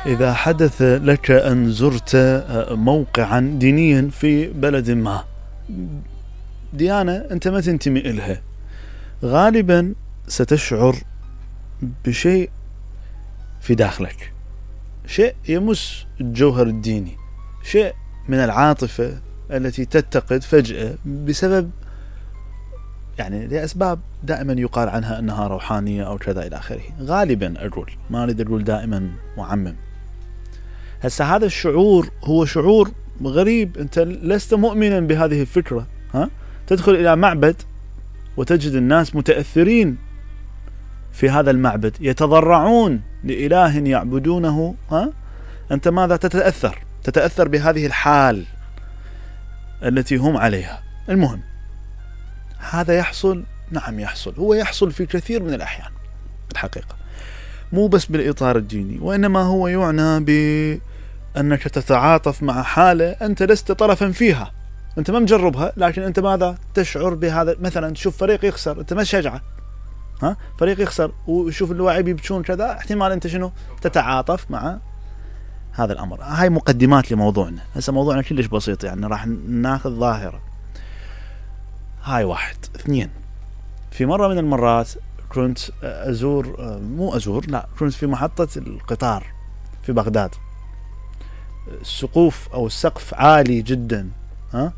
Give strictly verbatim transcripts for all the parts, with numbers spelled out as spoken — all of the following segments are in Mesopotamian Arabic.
إذا حدث لك أن زرت موقعا دينيا في بلد ما، ديانة أنت ما تنتمي إلها، غالبا ستشعر بشيء في داخلك، شيء يمس الجوهر الديني، شيء من العاطفة التي تتقد فجأة بسبب يعني لأسباب دائما يقال عنها أنها روحانية أو كذا إلى آخره. غالبا أقول، ما أريد أقول دائما معمم. هسا هذا الشعور هو شعور غريب، أنت لست مؤمنا بهذه الفكرة، ها؟ تدخل إلى معبد وتجد الناس متأثرين في هذا المعبد، يتضرعون لإله يعبدونه، ها؟ أنت ماذا تتأثر؟ تتأثر بهذه الحال التي هم عليها. المهم، هذا يحصل، نعم يحصل، هو يحصل في كثير من الأحيان الحقيقة، مو بس بالإطار الديني، وإنما هو يعنى بأنك تتعاطف مع حالة أنت لست طرفا فيها، أنت ما مجربها، لكن أنت ماذا تشعر بهذا. مثلا تشوف فريق يخسر، أنت ما شجعه، ها؟ فريق يخسر وشوف اللاعب يبكون كذا، احتمال أنت شنو تتعاطف مع هذا الأمر. هاي مقدمات لموضوعنا. هسه موضوعنا كلش بسيط، يعني راح ناخذ ظاهرة. هاي واحد. اثنين، في مرة من المرات كنت أزور، مو أزور، لا، كنت في محطة القطار في بغداد. السقوف أو السقف عالي جدا، ها؟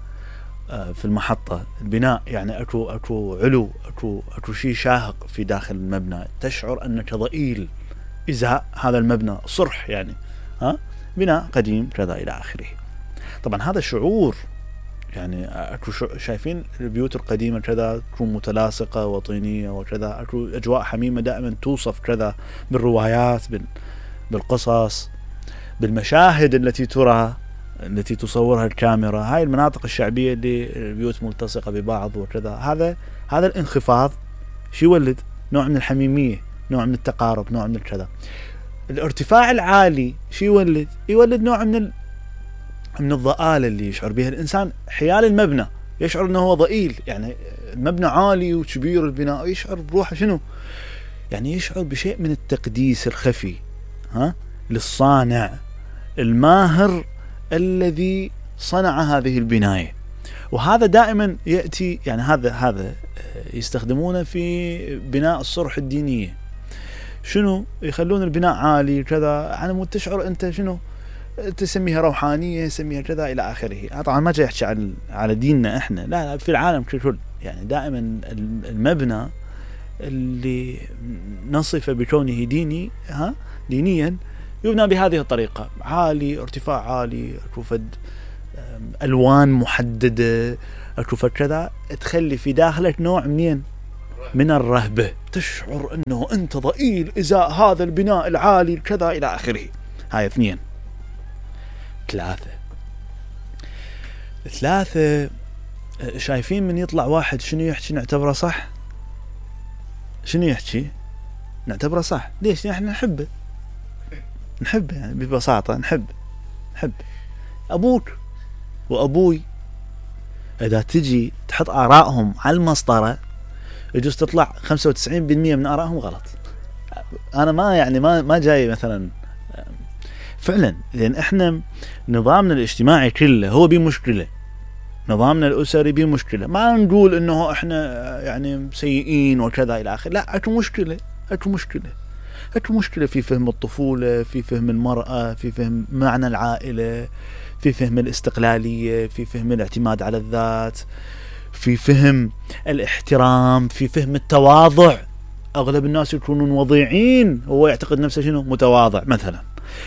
في المحطة، البناء يعني أكو أكو علو، أكو أكو شيء شاهق في داخل المبنى، تشعر أنك ضئيل إزاء هذا المبنى، صرح يعني، ها؟ بناء قديم كذا إلى آخره. طبعا هذا شعور، يعني أكو شايفين البيوت القديمة كذا تكون متلاصقة وطينية وكذا، أكو أجواء حميمة دائما توصف كذا بالروايات، بالقصص، بالمشاهد التي ترى، التي تصورها الكاميرا. هاي المناطق الشعبية اللي البيوت ملتصقة ببعض وكذا، هذا هذا الانخفاض شو يولد؟ نوع من الحميمية، نوع من التقارب، نوع من الكذا. الارتفاع العالي شو يولد؟ يولد نوع من ال... من الضآلة اللي يشعر بها الإنسان حيال المبنى، يشعر أنه هو ضئيل، يعني المبنى عالي وكبير البناء، يشعر بروحه شنو؟ يعني يشعر بشيء من التقديس الخفي، ها؟ للصانع الماهر الذي صنع هذه البناية. وهذا دائما يأتي، يعني هذا هذا يستخدمونه في بناء الصرح الدينية. شنو؟ يخلون البناء عالي كذا، على مود تشعر أنت شنو؟ تسميها روحانية، تسميها كذا إلى آخره. طبعا ما جاي يحكي على على ديننا إحنا، لا, لا، في العالم ككل، يعني دائما المبنى اللي نصف بكونه ديني، ها، دينيا، يبنى بهذه الطريقة، عالي، ارتفاع عالي، أكو فد ألوان محددة، أكو فد كذا، تخلي في داخلك نوع منين؟ من الرهبة، تشعر أنه أنت ضئيل إزاء هذا البناء العالي كذا إلى آخره. هاي اثنين. ثلاثة ثلاثة شايفين من يطلع واحد شنو يحكي نعتبره صح؟ شنو يحكي؟ نعتبره صح. ليش؟ احنا نحبه نحبه يعني ببساطة، نحب نحب أبوك وأبوي، إذا تجي تحط آرائهم على المسطرة يجوز تطلع خمسة وتسعين بالمئة من آرائهم غلط. أنا ما يعني ما ما جاي مثلا فعلا، لأن إحنا نظامنا الاجتماعي كله هو بمشكلة، نظامنا الأسري بمشكلة. ما نقول إنه إحنا يعني سيئين وكذا إلى آخره، لا، أكو مشكلة، أكو مشكلة أكو مشكلة في فهم الطفولة، في فهم المرأة، في فهم معنى العائلة، في فهم الاستقلالية، في فهم الاعتماد على الذات، في فهم الاحترام، في فهم التواضع. أغلب الناس يكونون وضيعين، هو يعتقد نفسه شنو؟ متواضع مثلا.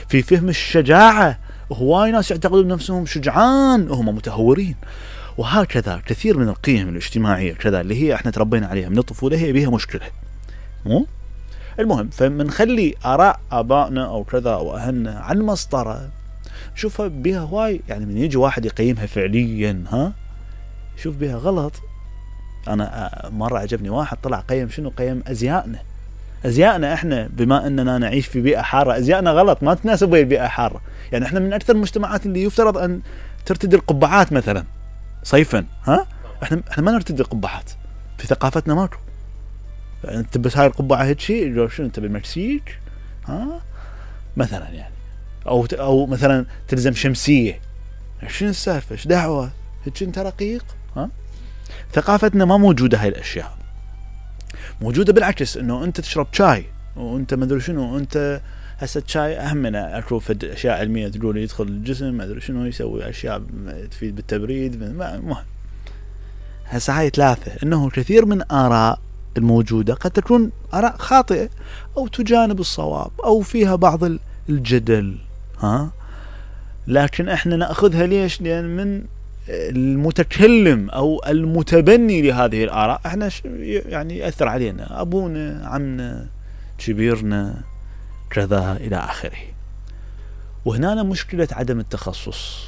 في فهم الشجاعة، هواي ناس يعتقدون نفسهم شجعان وهم متهورين. وهكذا كثير من القيم الاجتماعية كذا اللي هي احنا تربينا عليها من الطفولة، هي بها مشكلة. مو المهم، فمنخلي آراء آبائنا أو كذا أو أهلنا على المسطرة، شوفها بها هواي، يعني من يجي واحد يقيمها فعليا، ها، شوف بها غلط. أنا مرة عجبني واحد طلع قيم شنو؟ قيم أزيائنا. أزيائنا إحنا بما أننا نعيش في بيئة حارة، أزيائنا غلط، ما تناسب ويا البيئة حارة. يعني إحنا من أكثر المجتمعات اللي يفترض أن ترتدي القبعات مثلا صيفا، ها، إحنا إحنا ما نرتدي القبعات، في ثقافتنا ماكو. أنت بس هاي القبعة هيك شيء، شنو أنت بالمكسيك، ها، مثلا يعني او او مثلا تلزم شمسيه. شنو السالفه؟ ايش دعوه؟ هيك انت رقيق؟ ها؟ ثقافتنا ما موجوده هاي الاشياء. موجوده بالعكس، انه انت تشرب شاي وانت ما ادري شنو، وانت هسه الشاي اهم من اشوف اشياء علميه تقول يدخل الجسم ما ادري شنو، يسوي اشياء تفيد بالتبريد. مهم هسه هاي ثلاثه، انه كثير من اراء الموجوده قد تكون اراء خاطئه او تجانب الصواب او فيها بعض الجدل، ها، لكن احنا ناخذها ليش؟ لان من المتكلم او المتبني لهذه الاراء احنا يعني ياثر علينا، ابونا، عمنا، كبيرنا، كذا الى اخره. وهنا مشكله عدم التخصص،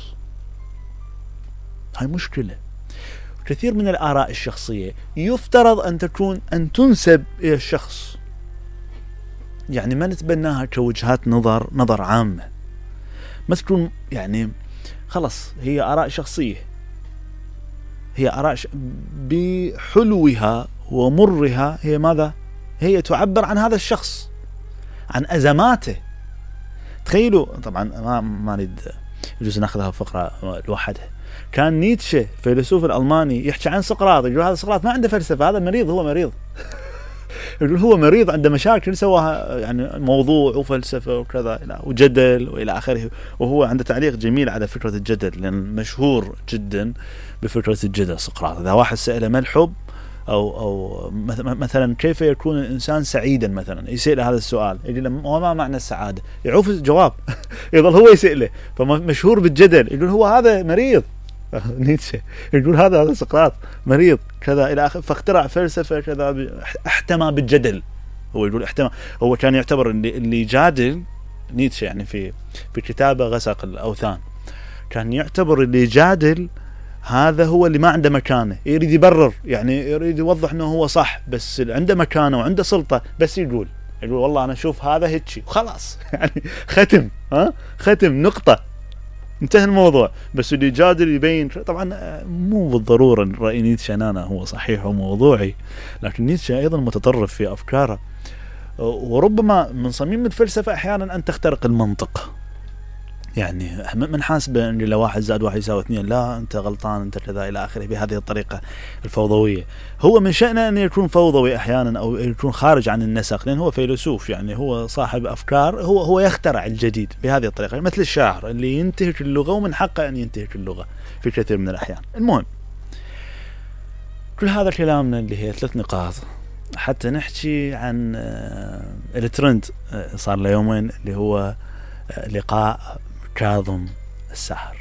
هاي مشكله. كثير من الاراء الشخصيه يفترض ان تكون ان تنسب الى الشخص، يعني ما نتبناها كوجهات نظر نظر عامه، ما تكون يعني خلص هي آراء شخصية، هي آراء ش... بحلوها ومرها هي ماذا؟ هي تعبر عن هذا الشخص، عن أزماته. تخيلوا طبعا ما ما نريد يجوز ناخذها فقرة لوحدها. كان نيتشه فيلسوف الألماني يحكي عن سقراط، يقول هذا سقراط ما عنده فلسفة، هذا مريض، هو مريض. يقول هو مريض، عنده مشاكل سواها يعني موضوع وفلسفة وكذا وجدل وإلى آخره. وهو عنده تعليق جميل على فكرة الجدل، لأن مشهور جدا بفكرة الجدل سقراط. إذا واحد سأله ما الحب أو أو مثلا كيف يكون الإنسان سعيدا مثلا، يسأل هذا السؤال، يقول له وما معنى السعادة؟ يعوف الجواب يظل هو يسأله، فمشهور بالجدل. يقول هو هذا مريض نيتشه، يقول هذا هذا سقراط مريض كذا الى اخره، فاخترع فلسفه كذا، احتمى بالجدل. هو يقول احتمى، هو كان يعتبر اللي اللي يجادل نيتشه يعني في في كتابه غسق الاوثان، كان يعتبر اللي يجادل هذا هو اللي ما عنده مكانه، يريد يبرر، يعني يريد يوضح انه هو صح، بس عنده مكانه وعنده سلطه، بس يقول يقول والله انا اشوف هذا هيك وخلاص يعني ختم، ها ختم نقطه، انتهى الموضوع. بس اللي يجادل يبين، طبعا مو بالضروره راي نيتشه انا هو صحيح وموضوعي، لكن نيتشه ايضا متطرف في افكاره، وربما من صميم الفلسفه احيانا ان تخترق المنطق. يعني من حاسبه ان لو واحد زائد واحد يساوي اثنين، لا انت غلطان انت كذا الى اخره، بهذه الطريقه الفوضويه. هو من شأنه ان يكون فوضوي احيانا او يكون خارج عن النسق، لان هو فيلسوف، يعني هو صاحب افكار، هو هو يخترع الجديد بهذه الطريقه، مثل الشاعر اللي ينتهك اللغه ومن حقه ان ينتهك اللغه في كثير من الاحيان. المهم كل هذا كلامنا اللي هي ثلاث نقاط حتى نحكي عن الترند صار له يومين، اللي هو لقاء كاظم الساهر.